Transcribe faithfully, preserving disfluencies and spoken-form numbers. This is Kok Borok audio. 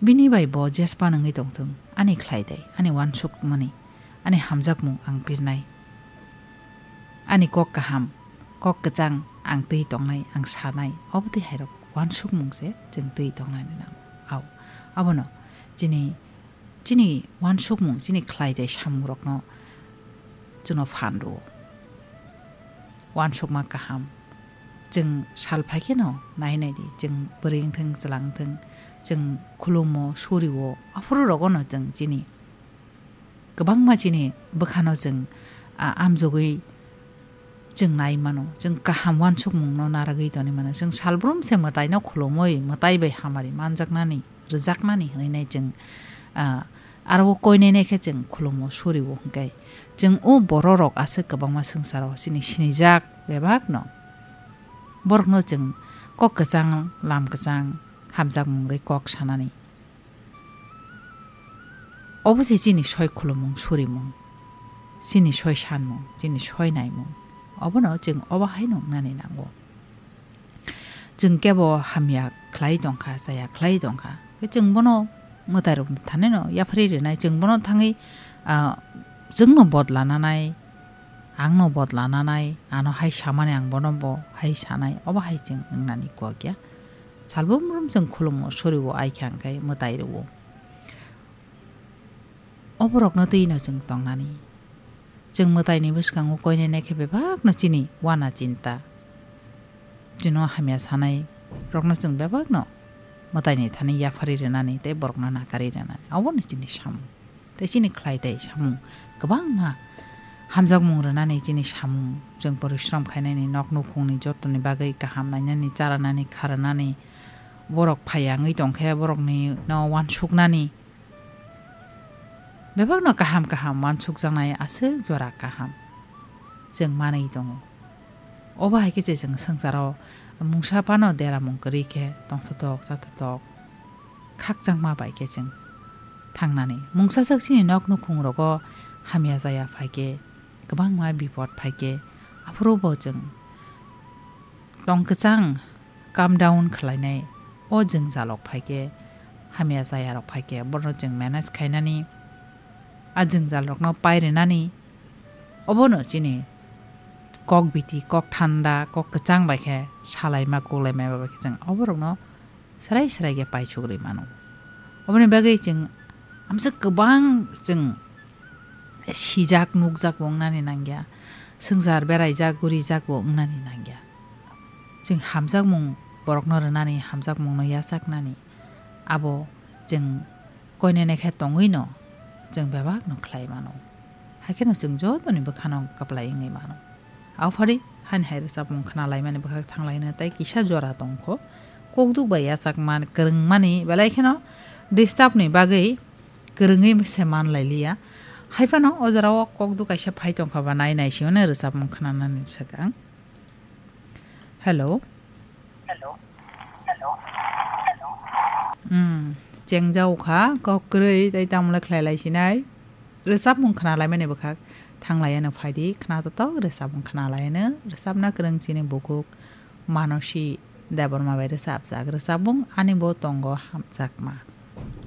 Bini bai bo jespan wngwi tongthung, ani khlai dai, ani uansukmani, ani hamjakmung ang pirnai. Ani kok kaham, kok kwchang ang twi tongnai, ang sanai, obo twi hairok uansukmung se chwng twi tongnani nango. Au, abono chini, chini uansukmung, chini khlai dai samungrokno chwngno phan rwo. Uansukma kaham. Chwng sal phai kheno nai nai di, chwng bwrwi wngthung, chwla wngthung, chwng khulumo, suriwo, aphuru rogono chwng chini kwbangma chini bwkhano chwng, a, amjogwi chwng nai mano, chwng kaham uansukmungno narwgwi tongwi mano. Chwng salbrum se mwtaino khulumwi, mwtai bai hamari manjaknani, rwjaknani hwnwi nai chwng, a, aro o koinene khe chwng khulumo, suriwo hwnkhe chwng o bororok aswk kwbangma swngcharo chini sinijak bebakno. Borokno chwng kok kwchang, lam kwchang, hamjakmung rwi kok sanani. Obo se chini soi khulumung, surimung, chini soi sanmung, chini soi naimung. Obono chwng obo haino wngnani nango. Chwng kebo hamya khlai tongkha, chaya khlai tongkha. Khe chwng bono mwtairokni thanino yapharwi rwnai, chwng bono thangwi, ah, chwngno bodla nanai, angno bodla nanai, ano hai samani ang bono bo hai sanai, obo hai chwng wngnani kok ya. Salbumrum chwng khulumo, suriwo, ai khe ang khe mwtai rwo. Oborokno twino chwng tongnani. Chwng mwtaini bwskango koinene khe bebakno chini wana chinta. Chwngno hamya sanai rokno chwng bebakno mwtaini thani yapharwi rwnani tei borokno nakarwi rwnani. Obono chini samung. Tei chini khlai tei samung kwbangma hamjakmung rwnani chini samung. Chwng porishrom khainani, nok nukhungni jotoni bagwi kaham nainani, charanani, kharanani, borok phaiya wngwi tongkhe borokni no uansuknani. Bebakno kaham kaham uansukjaknai aswk jora kaham chwng manwi tongo. Obo hai khe je chwng swngcharo mungsa phano deramung kwrwi khe tongthotok chathotok khakchangma bai khe chwng thangnani. Mungsa swk chini nok nukhungrogo hamya jaya phai khe, kwbangma bipot phai khe, aphuru bo chwng tong kwchang calm down khlainai. O jwngjalrok phai khe, hamya jayarok phai khe, bono chwng manage khainani, a jwngjalrokno pai rwnani, obono chini kok biti, kok thanda, kok kwchang bai khe salaima, kuklaima bai khe chwng oborokno swrai swrai khe paisuk rwi mano. Oboni bagwi chwng amswk kwbang chwng sijak nukjak bo wngnani nangya, swngchar beraijak gurijak bo wngnani nangya. Chwng hamjakmung borokno rwnani, hamjakmungno yachaknani, abo chwng koinene khe tongwino chwng bebakno khlai mano. Haikhe no chwng jotoni bwkhano kwplai wngwi mano. Aphari hani hai rwchapmung khna laimani bwkhak thang laina tei kisa jora tongkho. Kokduk bai yachakma kwrwngmani belai kheno disturb ni bagwi kwrwngwi se man lai liya. Haiphano o jora o kokduk kaisa phai tongkha ba nai nai se hwnwi rwchapmung khnanani swkang. Hello. Hello. Hello. Hello. Hmm. Chengjao kha kok kwrwi tei tamo le khlai lai sinai. Rwchapmung khna laimani bwkhak thang laiano phai di, khna totok rwchapmung khna laiano. Rwchapna kwrwng chini bukhuk Manosi Debbarma bai rwchapjak rwchapmung Ani bo tongo hamjakma.